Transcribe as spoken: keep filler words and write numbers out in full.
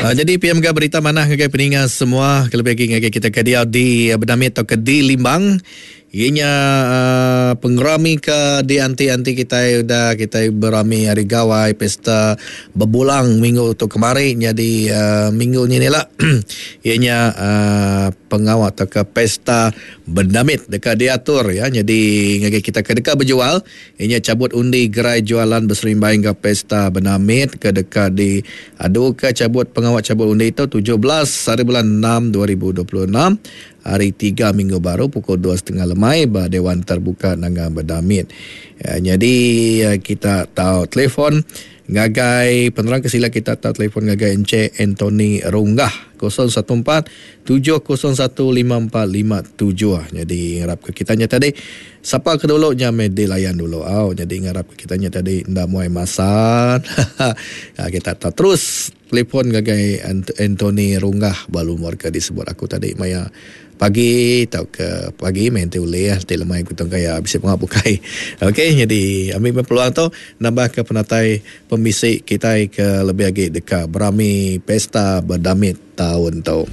Uh, jadi P M G berita manah ngagai peninga semua kelebih lagi ngagai kita ke dia di Bedamit atau ke di Limbang. Ianya uh, pengerami ke di anti-anti kita udah kita berami hari gawai pesta berbulang minggu tu kemarin jadi uh, minggu ni ni lah ianya uh, pengawal atau ke pesta Bedamit dekat diatur ya. Jadi ngagai kita ke dekat berjual ianya cabut undi gerai jualan berserimbai hingga pesta Bedamit ke dekat di adu ke cabut pengawal cabut undi itu tujuh belas hari bulan enam dua ribu dua puluh enam hari tiga minggu baru pukul dua setengah lemai ba Dewan Terbuka Nanga Bedamit. Ya, jadi kita tahu telefon ngagai penerang kesila kita tahu telefon ngagai Encik Anthony Runggah kosong satu empat tujuh kosong satu lima empat lima tujuh. Jadi ngarap ke kitanya tadi siapa ke dulu nya meh dilayan dulu. Au jadi ngarap ke kitanya tadi ndak muai masa. Ya, kita tahu terus telefon ngagai Anthony Runggah balu warga disebut aku tadi maya pagi atau ke pagi main tu boleh ti lemai kutong kaya bisa pengap bukai. Okey, jadi ambil peluang tu nambah ke penatai pembisik kita ke lebih lagi dekat berami pesta Bedamit tahun tu.